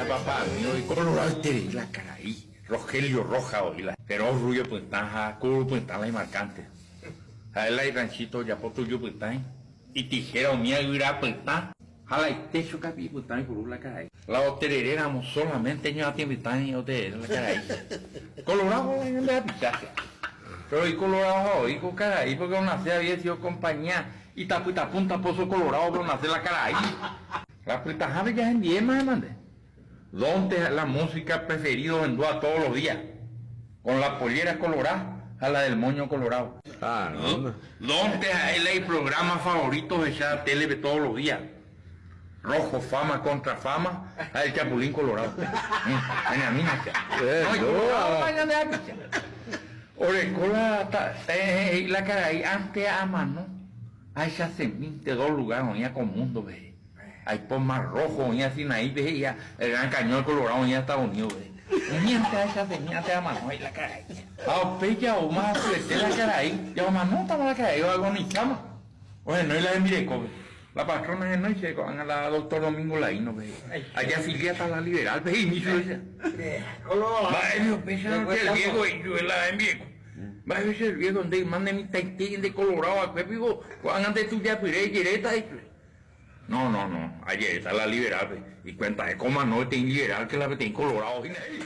la papá mío y colorado la karai Rogelio Rojas oĩ la pero rubio pytã ha kuru pytã la imarcante. Ha'e la iranchito ojapo tuju pytã itijera umía yvyra pytã ha la itecho kapi'i pytã oipuru la karai. La otereréramo solamente ñoatĩ pytã oterere la karai. Colorado la ñande rapicha che. Pero icolorado ha oĩ ko karai porque onace había sido compañía Itapyta Punta Pozo Colorado pe onace la karai. La pytãhápe jahendiéma hemande. Donte la música preferido ohendúva todos los días. Con la pollera colorá ha la del moño colorado. Donte ha'e la iprograma favorito ohecha télepe todos los días. Rojo fama contra fama ha el chapulín colorado. Ñañamína che. No, icolorado ñande rapicha. Oreko la he'i la karai antes amano ahechasemínte dos lugar oĩva ko mundo-pe he'i. Aipo Mar Rojo oĩva Sinaí-pe he'i ha el Gran Cañón Colorado oĩva Estados Unidos-pe he'i. Umi antes ahechasemi antes amano he'i la karai. Ha upéi jaúma hasyete la karai, ja omanótama la karai oagonizáma. Ohenói la hembirekópe. La patrona henói che ko'ág̃a la doctor Domingo Laíno-pe he'i. Ajeafiliáta la liberal-pe he'imi chupe che. Mba'épe upéicharõ che el viejo he'i chupe la hembireko. Mba'épe che el viejo nde yma ne mitãite nde colorado va'ekue piko ko'ág̃a nde tujapyre ejeréta he'i chupe. No, no, no, ajeréta la liberal-pe. Ikuentave ko omano peteĩ liberal que la peteĩ colorado hína he'i.